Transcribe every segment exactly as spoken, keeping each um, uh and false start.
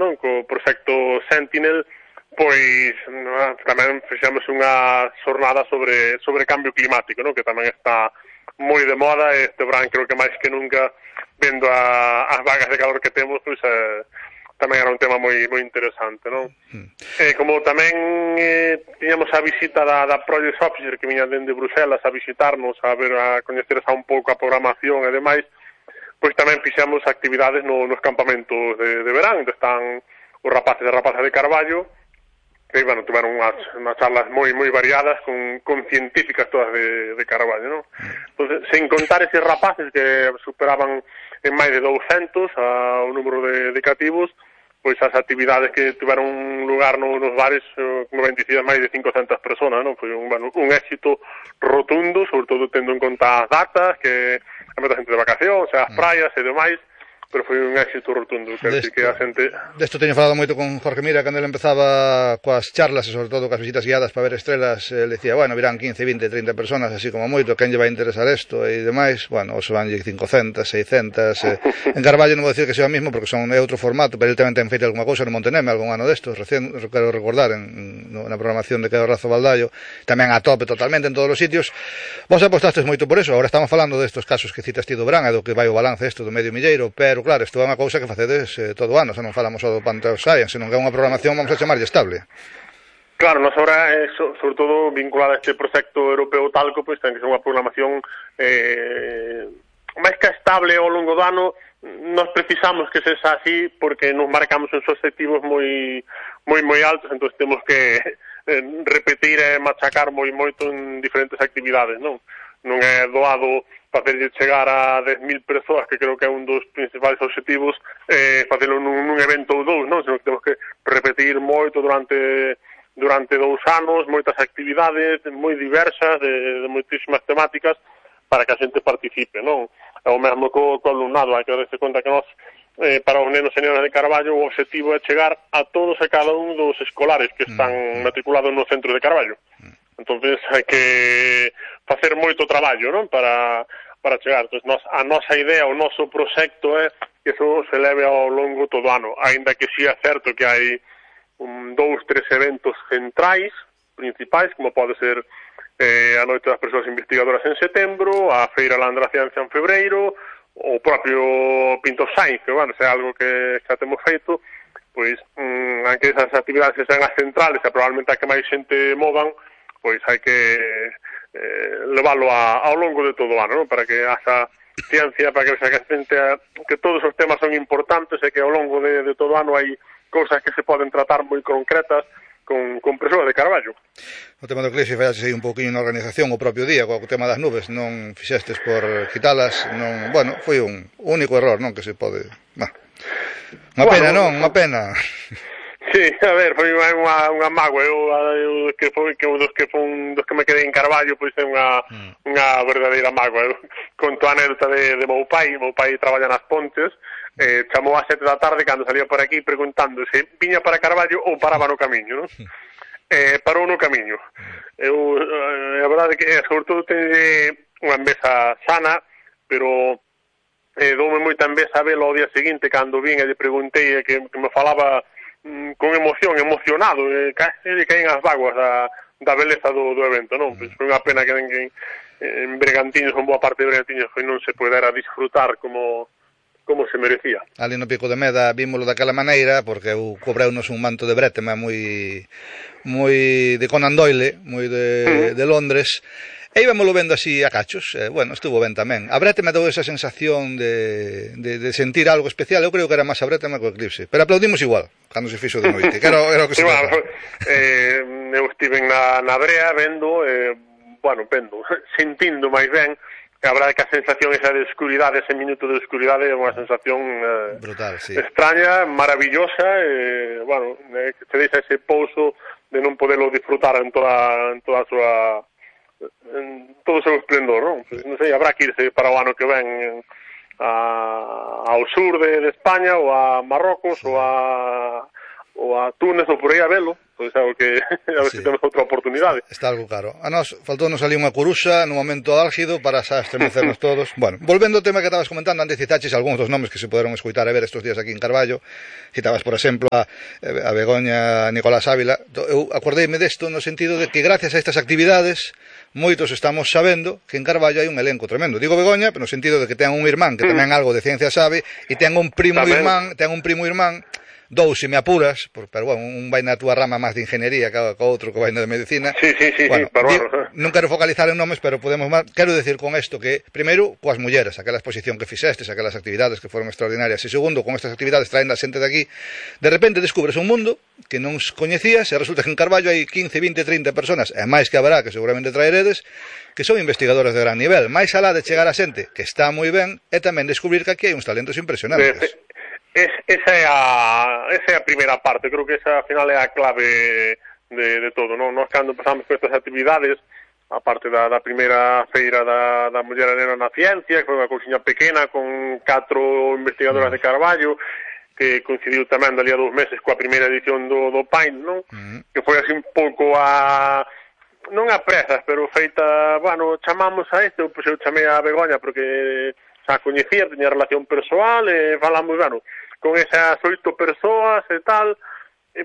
non? Co proxecto Sentinel, pois non, tamén fixemos unha xornada sobre sobre cambio climático, non? Que tamén está moi de moda, e este verán creo que máis que nunca, vendo a, as vagas de calor que temos, pois eh, tamén era un tema moi moi interesante, non? Mm. Eh, como tamén eh, tiñamos a visita da, da Project Officer que viña dende Bruselas a visitarnos, a ver, a coñecer xa un pouco a programación e demais, pois tamén fixemos actividades no, nos campamentos de, de verán, onde están os rapaces e rapazas de Carballo, que, bueno, tiveron unhas, unhas charlas moi moi variadas con, con científicas todas de, de Carballo, non? Entón, sen contar eses rapaces que superaban en máis de douscentos a, o número de, de cativos, pois as actividades que tiveron lugar no, nos bares, como ben dicías, máis de cincocentas personas, non? Foi un, bueno, un éxito rotundo, sobre todo tendo en conta as datas, que a moita xente de vacacións, as praias e demais, pero foi un éxito rotundo, quero dicir que a xente... Desto teño falado moito con Jorge Mira, cando ele empezaba coas charlas e sobre todo coas visitas guiadas para ver estrelas, ele decía, bueno, virán quince, vinte, trinta personas, así como moito, quen lle vai interesar isto e demais, bueno, os vanlle cincocentas, seiscentas, eh. En Carballo non vou dicir que sea o mismo, porque son é outro formato, pero ele tamén ten feito alguma cousa no Monteneme, algún ano destos, recén, quero recordar, en, no, na programación de Quedo Razo Baldaio, tamén a tope totalmente en todos os sitios. Vos apostastes moito por eso, agora estamos falando destos casos que citas ti do verán, e do que vai o balance isto do medio milleiro, pero claro, isto é unha cousa que facedes eh, todo o ano, se non falamos só do Panteo Science, senón que é unha programación, vamos a chamarlle estable. Claro, nos ahora, é, so, sobre todo vinculada a este proxecto europeo Talco, pois ten que ser unha programación eh, máis que estable ao longo do ano. Nos precisamos que sexa así porque nos marcamos uns objetivos moi moi moi altos, entón temos que eh, repetir e machacar moi moito en diferentes actividades, non? Non é doado facerlle chegar a dez mil persoas, que creo que é un dos principais objetivos, eh, facelo nun, nun evento ou dous, non? Senón que temos que repetir moito durante durante dous anos, moitas actividades moi diversas, de, de moitísimas temáticas, para que a xente participe, non? É o mesmo co, co alumnado, hai que darse conta que nós, eh, para os nenos e nenas de Carballo, o objetivo é chegar a todos e cada un dos escolares que están mm. matriculados no centro de Carballo. Entonces hai que facer moito traballo, non? Para, para chegar. Entonces, nos, a nosa idea, o noso proxecto é que iso se leve ao longo todo o ano, aínda que si é certo que hai un, dous, tres eventos centrais, principais, como pode ser eh, a Noite das Persoas Investigadoras en setembro, a Feira Landra Ciencia en febreiro, o propio Pinto Science, que, bueno, se é algo que xa temos feito, pois, mm, aunque esas actividades sean as centrales, e probablemente a que máis xente movan, pois hai que eh, leválo a, ao longo de todo o ano, non? Para que haxa ciencia, para que haxa que, xente, que todos os temas son importantes e que ao longo de, de todo o ano hai cousas que se poden tratar moi concretas con, con persoas de Carballo. O tema do eclipse fallaxe aí un pouquinho na organización o propio día, co tema das nubes, non fixestes por quitalas, non, bueno, foi un único error, non, que se pode... Bah. Unha bueno, pena, non, unha pena... Sí, a ver, foi unha, unha mágoa, eu, eu que foi que dos que fun, dos que me quedei en Carballo, pois é unha mm. unha verdadeira mágoa. Eu conto a anécdota de, de meu pai, meu pai traballa nas Pontes, eh, chamou a sete da tarde cando salía por aquí preguntando se viña para Carballo ou paraba no camiño, non? Eh, parou no camiño. Eu, eh, a verdade é que, eh, sobre todo, ten unha envesa sana, pero eh, doume moita envesa velo ao día seguinte cando vin e lle preguntei que, que me falaba con emoción, emocionado, eh, casi lle caen as vaguas da, da beleza do, do evento, non? Pois foi unha pena que en, en Bergantiños, con boa parte de Bergantiños, foi non se pudera disfrutar como como se merecía. Ali no Pico de Meda vímolo daquela maneira, porque eu cobreunos un manto de brétema moi moi de Conan Doyle, moi de, uh-huh. de Londres, e íbamolo vendo así a cachos, eh, bueno, estuvo ben tamén. A brétema dou esa sensación de, de, de sentir algo especial, eu creo que era máis a brétema que o eclipse, pero aplaudimos igual, cando se fixo de noite, que era, era o que se sí, bueno, eh, eu estive na, na brea vendo, eh, bueno, vendo, sentindo máis ben, que a verdade que a sensación esa de escuridade, ese minuto de escuridade é unha sensación eh, brutal, sí. extraña, maravillosa, e, eh, bueno, eh, que te deixa ese pouso de non poderlo disfrutar en toda, en toda a súa en todo o seu esplendor, non? Pues, non sei, habrá que irse para o ano que ven a, ao sur de, de España ou a Marrocos sí. ou a, ou a Túnez ou por aí a velo, pois é algo que a ver sí. se temos outra oportunidade. Está algo caro. A nós faltounos ali unha curuxa no momento álgido para xa estremecernos todos. Bueno, volvendo ao tema que estabas comentando, antes citaches algúns dos nomes que se poderon escoitar e ver estes días aquí en Carballo. Citabas, por exemplo, a, a Begoña Nicolás Ávila. Eu acordeime desto no sentido de que gracias a estas actividades moitos estamos sabendo que en Carballo hai un elenco tremendo. Digo Begoña, pero no sentido de que ten un irmán que tamén algo de ciencia sabe e ten un primo tamén. irmán, ten un primo irmán dous, se me apuras, por, pero bueno, un vai na túa rama máis de ingeniería que o outro que vai na de medicina. Sí, sí, sí, bueno, sí, pero di, bueno. Non quero focalizar en nomes, pero podemos máis. Quero decir con isto que, primeiro, coas mulleres, aquela exposición que fixestes, aquelas actividades que foron extraordinarias, e segundo, con estas actividades traendo a xente de aquí, de repente descubres un mundo que non coñecías e resulta que en Carballo hai quince, vinte, trinta personas, e máis que haberá, que seguramente traeredes, que son investigadores de gran nivel. Máis alá de chegar a xente, que está moi ben, e tamén descubrir que aquí hai uns talentos impresionantes. De, de... Es, esa, é a, esa é a primeira parte, creo que esa, ao final, é a clave de, de todo, non? Nós, cando empezamos con estas actividades, a parte da, da primeira feira da, da Muller Nena na Ciencia, que foi unha cousiña pequena, con catro investigadoras de Carballo, que coincidiu tamén dali a dous meses coa primeira edición do, do Paint, non? Uh-huh. Que foi así un pouco a... non a presas, pero feita, bueno, chamamos a este, pois eu chamei a Begoña, porque xa coñecía, teña relación persoal, e falamos, bueno, con esas oito persoas e tal,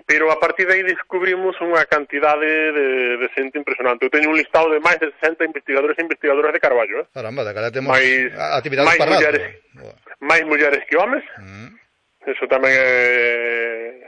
pero a partir de aí descubrimos unha cantidade de, de xente impresionante. Eu teño un listado de máis de sesenta investigadores e investigadoras de Carballo, eh? Caramba, de cara temos máis, actividades para mulleres, máis mulleres que homes, mm. Eso tamén é,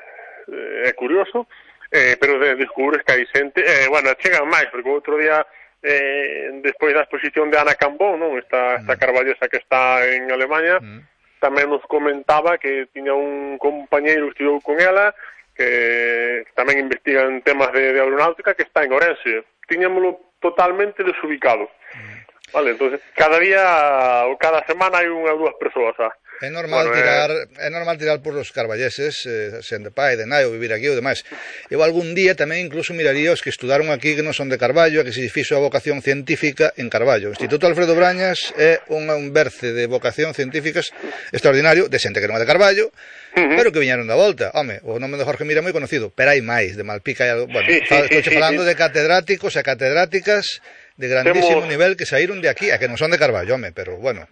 é curioso, eh, pero de, descubres que hai xente, eh, bueno, chegan máis, porque outro día, eh, despois da exposición de Ana Cambó, non? Esta, esta mm. carballesa que está en Alemanha, mm. tamén nos comentaba que tiña un compañeiro que estudou con ela, que tamén investiga en temas de, de aeronáutica, que está en Orense. Tiñámoslo totalmente desubicado. Mm. Vale, entonces, cada día ou cada semana hai unha ou dúas persoas, ah. É normal bueno, tirar eh... é normal tirar por os carballeses, eh, sen de pai, de nai, ou vivir aquí ou demais. Eu algún día tamén incluso miraría os que estudaron aquí que non son de Carballo, que se fixo a vocación científica en Carballo. O Instituto Alfredo Brañas é un, un berce de vocación científicas extraordinario, de xente que non é de Carballo, uh-huh. pero que viñeron da volta. Home, o nome de Jorge Mira é moi conocido, pero hai máis, de Malpica hai algo... Bueno, sí, sí, estou sí, falando sí, de catedráticos e catedráticas de grandísimo Temos... nivel que saíron de aquí, a que non son de Carballo, home, pero bueno...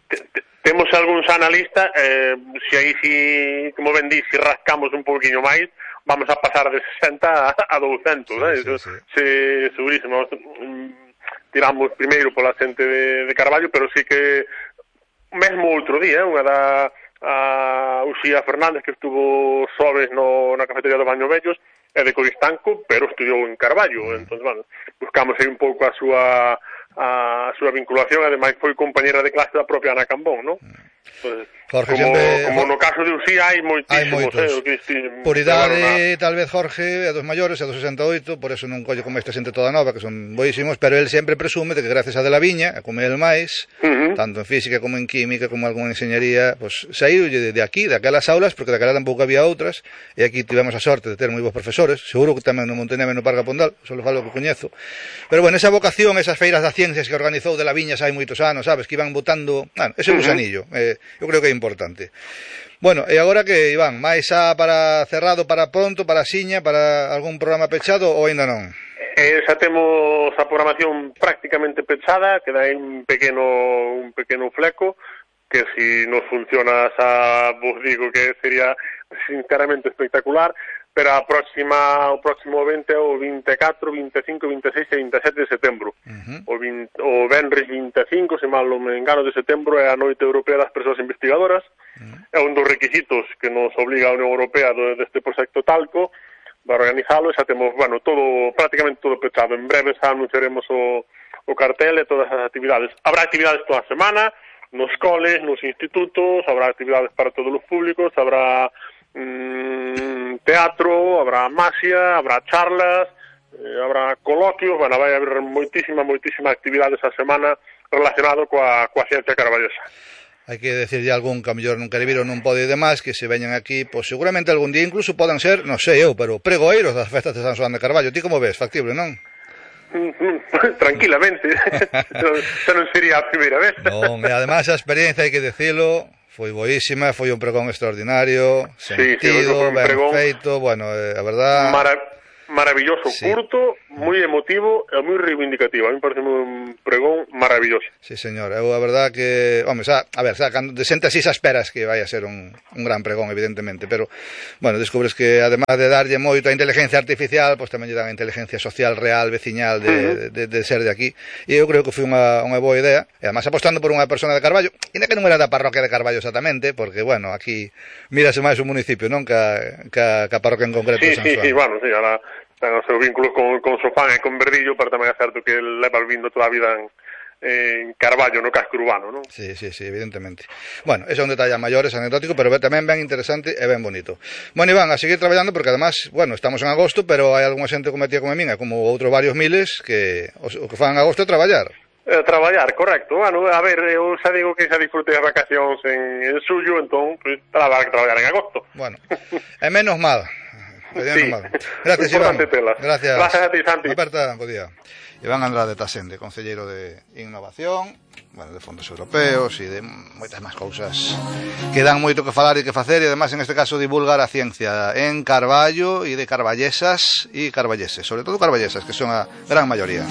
Temos algúns analistas, eh, se aí, si, como ben di, si rascamos un poquinho máis, vamos a pasar de sesenta a douscentos, sí, eh? sí, sí. Se, segurísimo. Tiramos primeiro pola xente de, de Carballo, pero sí que, mesmo outro día, unha da a Uxía Fernández, que estuvo sobres no, na cafetería do Baño Vellos, é de Coristanco, pero estudiou en Carballo, mm. entón, bueno, buscamos aí un pouco a súa... a súa vinculación, ademais foi compañera de clase da propia Ana Cambón, non? Pues, Jorge, como, sempre... como no caso de Uxía hai moitísimos, hai moitos. Eh, que, por idade, na... tal vez Jorge é dos maiores, é dos sesenta e oito, por eso non colle como esta xente toda nova, que son boísimos, pero el sempre presume de que gracias a de la viña, a comer el máis, uh-huh. tanto en física como en química, como en enxeñería, pues, saíu de, de aquí, daquelas aulas, porque daquela tampouco había outras, e aquí tivemos a sorte de ter moi bons profesores, seguro que tamén no Monteneme no Parque Pondal, só falo que coñezo, pero bueno, esa vocación, esas feiras das ciencias que organizou de la viña hai moitos anos, sabes, que iban botando, bueno, ese gusanillo, uh-huh. eh, eu creo que é importante. Bueno, e agora que, Iván, máis a para cerrado, para pronto, para Siña, para algún programa pechado ou ainda non? Eh, xa temos a programación prácticamente pechada, queda aí un pequeno un pequeno fleco, que si nos funciona xa vos digo que sería sinceramente espectacular, pero a próxima, o próximo evento é o vinte e catro, vinte e cinco, vinte e seis e vinte e sete de setembro. Uh-huh. O, vinte, o venres vinte e cinco, se mal non me engano, de setembro é a Noite Europea das Persoas Investigadoras. Uh-huh. É un dos requisitos que nos obliga a Unión Europea deste proxecto Talco para organizalo, e xa temos, bueno, todo, prácticamente todo pechado. En breve xa anunciaremos o, o cartel e todas as actividades. Habrá actividades toda a semana, nos coles, nos institutos, habrá actividades para todos os públicos, habrá mm, teatro, habrá masia, habrá charlas, eh, habrá coloquios, bueno, vai haber moitísima, moitísima actividades a semana relacionado coa, coa ciencia carballosa. Hai que decirlle algún que a mellor non quere vir ou non pode demais, que se veñan aquí, pois seguramente algún día incluso podan ser, non sei eu, pero pregoeiros das festas de San Xoán de Carballo. Ti como ves? Factible, non? Tranquilamente. Xa non sería a primeira vez. Non, e ademais a experiencia, hai que decirlo, Foi boísima, foi un pregón extraordinario, sentido, sí, sí, un ben pregón feito, bueno, eh, a verdad... Mara maravilloso, sí. curto, moi emotivo e moi reivindicativo. A mí parece un pregón maravilloso. Sí, señor, eu a verdad que, home, xa, a ver, xa, cando de xente así xa esperas que vai a ser un, un gran pregón, evidentemente, pero, bueno, descubres que, además de darlle moito a inteligencia artificial, pois pues, tamén lle dan a inteligencia social real, veciñal, de, uh-huh. de, de, de ser de aquí, e eu creo que foi unha, unha boa idea, e además apostando por unha persona de Carballo, ainda que non era da parroquia de Carballo exactamente, porque, bueno, aquí mírase máis o municipio, non, ca, ca, ca parroquia en concreto sí, de San Sí, Xoán. sí, bueno, sí, ahora ten os seus vínculos con, con Sofán e con Verdillo, pero tamén é certo que leva vindo toda a vida en, en Carballo, no casco urbano, non? Sí, sí, sí, evidentemente. Bueno, ese é un detalle a maiores, anecdótico, pero tamén ben interesante e ben bonito. Bueno, Iván, a seguir traballando, porque además, bueno, estamos en agosto, pero hai algunha xente como a tía como a min, como outros varios miles, que o que fan en agosto é traballar. Eh, traballar, correcto. Bueno, a ver, eu xa digo que xa disfrutei as vacacións en, en suyo, entón, pues, traballar que traballar en agosto. Bueno, é menos mal. Sí, gracias, Iván. Gracias. Gracias a ti, Santi. Aperta, bo día. Iván Andrade Tasende, concelleiro de Innovación, bueno, de fondos europeos e de moitas máis cousas que dan moito que falar e que facer, e además en este caso divulgar a ciencia en Carballo e de carballesas e carballeses, sobre todo carballesas, que son a gran maioría.